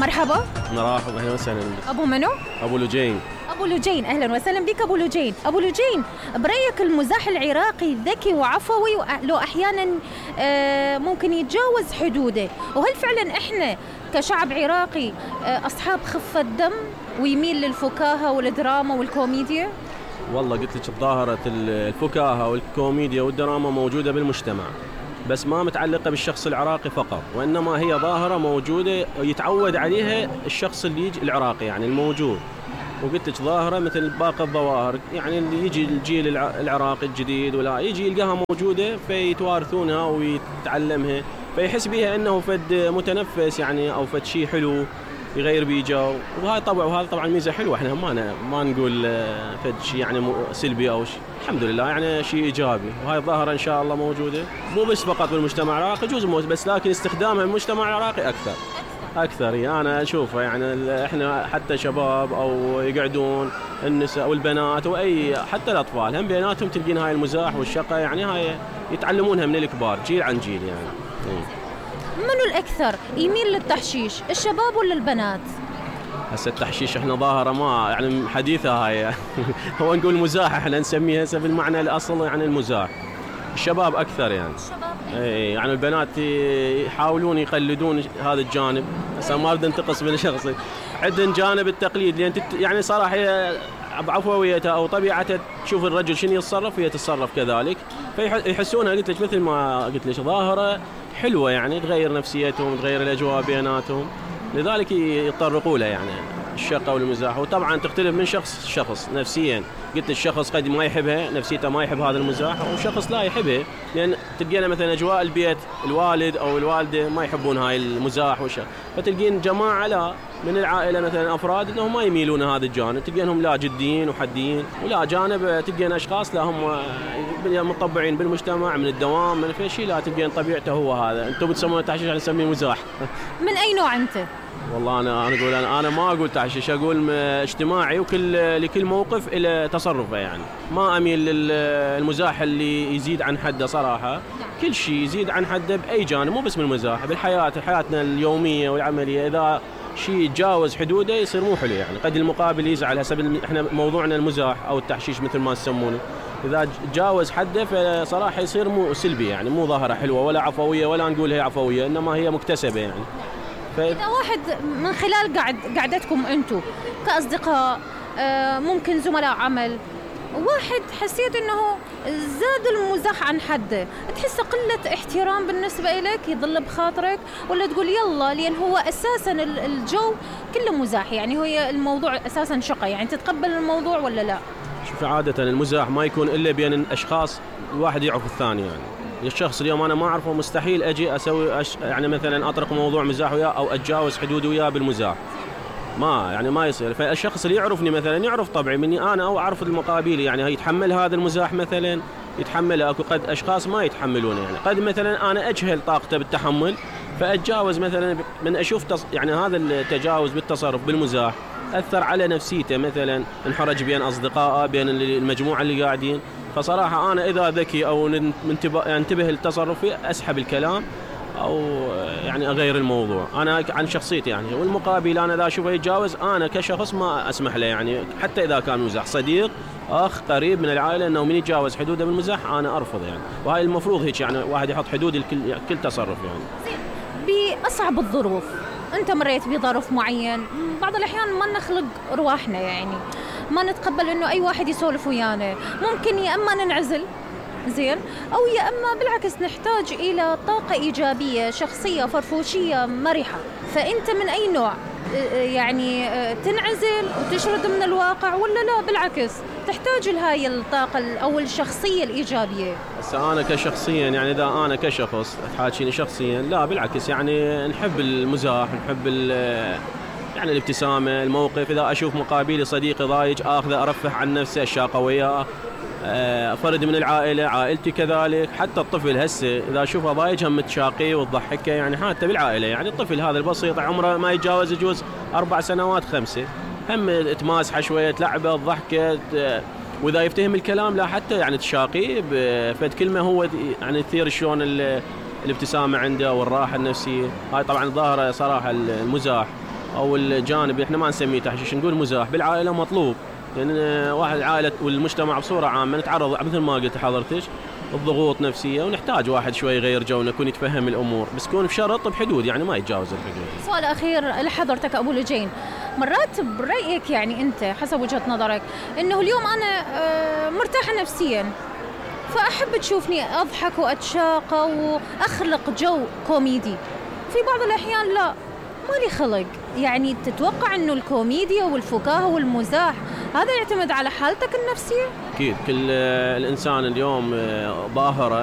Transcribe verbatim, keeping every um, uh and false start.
مرحبا. مرحبا، اهلا وسهلا. ابو منو؟ ابو لجين. ابو لجين، اهلا وسهلا بك ابو لجين. ابو لجين، برايك المزاح العراقي ذكي وعفوي لو احيانا ممكن يتجاوز حدوده، وهل فعلا احنا كشعب عراقي اصحاب خفة دم ويميل للفكاهة والدراما والكوميديا؟ والله قلت لك ظاهرة الفكاهة والكوميديا والدراما موجودة بالمجتمع، بس ما متعلقة بالشخص العراقي فقط، وإنما هي ظاهرة موجودة يتعود عليها الشخص اللي يجي العراقي يعني الموجود. وقلت لك ظاهرة مثل باقي الظواهر، يعني اللي يجي الجيل العراقي الجديد ولا يجي يلقاها موجودة فيتوارثونها ويتعلمها، فيحس بها إنه فد متنفس يعني أو فد شيء حلو يغير بيجاو، وهاي طبعا وهذا طبعا ميزة حلوة. احنا ما ما نقول فد شيء يعني سلبي أو شيء، الحمد لله يعني شيء إيجابي، وهاي الظاهرة إن شاء الله موجودة مو بس فقط بالمجتمع العراقي، جزء بس لكن استخدامها بالمجتمع العراقي أكثر أكثر. يعني أنا أشوفه يعني إحنا حتى شباب أو يقعدون النساء والبنات وأي حتى الأطفال هم بيناتهم تلقين هاي المزاح والشقة، يعني هاي يتعلمونها من الكبار جيل عن جيل يعني. منو الأكثر يميل للتحشيش، الشباب ولا البنات؟ هسه التحشيش احنا ظاهرة ما يعني حديثة هاي هو نقول مزاح، احنا نسميها هسه بالمعنى الأصل يعني المزاح. الشباب أكثر يعني. الشباب اي يعني البنات يحاولون يقلدون هذا الجانب، هسه ما بدي انتقص من شخصي، عندهم جانب التقليد لأن يعني صراحة بعفويتها أو طبيعتها تشوف الرجل شنو يتصرف وهي تتصرف كذلك، فيحسونها قلت لك مثل ما قلت لك ظاهرة حلوة يعني تغير نفسيتهم تغير الأجواء بيناتهم، لذلك يتطرقوا لها يعني الشقة والمزاح. وطبعا تختلف من شخص لشخص نفسيا، قلت الشخص قد ما يحبها نفسيته ما يحب هذا المزاح، وشخص لا يحبها، لأن تلقينا مثلا أجواء البيت الوالد أو الوالدة ما يحبون هاي المزاح والشق، فتلقين جماعة لا من العائلة مثلا أفراد أنهم ما يميلون هذا الجانب، تلقينهم لا جديين وحديين، ولا جانب تلقين أشخاص لا هم مطبعين بالمجتمع من الدوام من في شيء، لا تلقين طبيعته هو هذا. أنتم بتسمونه تحشيش، أنا نسميه مزاح. من أي نوع أنت؟ والله أنا أنا أقول أنا, أنا ما أقول تحشيش، أقول اجتماعي، وكل لكل موقف إلى تصرفه يعني. ما أميل للمزاح اللي يزيد عن حده صراحة، كل شيء يزيد عن حده بأي جانب، مو بس من المزاح، بالحياة حياتنا اليومية والعملية، إذا شيء يتجاوز حدوده يصير مو حلو يعني. قد المقابل يزعل، هسه احنا موضوعنا المزاح أو التحشيش مثل ما تسمونه، إذا تجاوز حده فصراحة يصير مو سلبي يعني، مو ظاهرة حلوة ولا عفوية، ولا نقول هي عفوية، إنما هي مكتسبة يعني. إذا واحد من خلال قعد قعدتكم أنتم كأصدقاء ممكن زملاء عمل، واحد حسيت إنه زاد المزاح عن حده، تحس قلة احترام بالنسبة إليك يظل بخاطرك، ولا تقول يلا لأن هو أساساً الجو كله مزاح يعني، هو الموضوع أساساً شقة يعني، تتقبل الموضوع ولا لا؟ شوف عادة المزاح ما يكون إلا بين الأشخاص الواحد يعرف الثاني يعني. الشخص اليوم أنا ما أعرفه مستحيل أجي أسوي أش... يعني مثلا أطرق موضوع مزاح وياه أو أتجاوز حدودي وياه بالمزاح، ما يعني ما يصير. فالشخص اللي يعرفني مثلا يعرف طبعي مني أنا أو أعرف المقابل يعني يتحمل هذا المزاح مثلا يتحمله، أكو قد أشخاص ما يتحملونه يعني، قد مثلا أنا أجهل طاقته بالتحمل فأتجاوز مثلا من أشوف تص... يعني هذا التجاوز بالتصرف بالمزاح أثر على نفسيته، مثلا انحرج بين أصدقائه بين المجموعة اللي قاعدين، فصراحة أنا إذا ذكي أو انتبه لتصرفي أسحب الكلام أو يعني أغير الموضوع، أنا عن شخصيتي يعني. والمقابل أنا إذا أشوفه يتجاوز أنا كشخص ما أسمح له يعني، حتى إذا كان مزاح صديق أخ قريب من العائلة، أنه من يتجاوز حدوده بالمزاح أنا أرفض يعني، وهاي المفروض هيك يعني، واحد يحط حدود لكل كل تصرف يعني. بأصعب الظروف أنت مريت بظرف معين، بعض الأحيان ما نخلق رواحنا يعني، ما نتقبل إنه أي واحد يسولف ويانا، ممكن يا أما ننعزل زين، أو يا أما بالعكس نحتاج إلى طاقة إيجابية شخصية فرفوشية مرحة. فأنت من أي نوع يعني، تنعزل وتشرد من الواقع، ولا لا بالعكس تحتاج لهاي الطاقة أو الشخصية الإيجابية؟ هسه أنا كشخصيا يعني، إذا أنا كشخص تحاكيني شخصيا لا بالعكس يعني، نحب المزاح نحب يعني الابتسامة الموقف، إذا أشوف مقابلي صديقي ضايج آخذه أرفح عن نفسه أشاقه وياه، فرد من العائلة عائلتي كذلك، حتى الطفل هسه إذا أشوفه ضايج هم تشاقيه وتضحكه يعني، حتى بالعائلة يعني الطفل هذا البسيط عمره ما يتجاوز يجوز أربع سنوات خمسة، هم تماسحه شوية تلعبه تضحكه، وإذا يفتهم الكلام لا حتى يعني تشاقيه بفد كلمة هو يعني تثير شلون الابتسامة عنده والراحة النفسية. هاي طبعا ظاهرة صراحة المزاح او الجانب احنا ما نسميه تحشيش، نقول مزاح بالعائله مطلوب، لان يعني واحد عائله والمجتمع بصوره عامه نتعرض مثل ما قلت حضرتك الضغوط نفسيه، ونحتاج واحد شوي يغير جونا، يكون يتفهم الامور، بس يكون بشرط بحدود، يعني ما يتجاوز الحدود. سؤال اخير لحضرتك ابو لجين، مرات برايك يعني انت حسب وجهه نظرك انه اليوم انا مرتاحه نفسيا، فاحب تشوفني اضحك واتشاقى واخلق جو كوميدي، في بعض الاحيان لا مالي خلق، يعني تتوقع انه الكوميديا والفكاهه والمزاح هذا يعتمد على حالتك النفسيه؟ اكيد كل الانسان اليوم ظاهره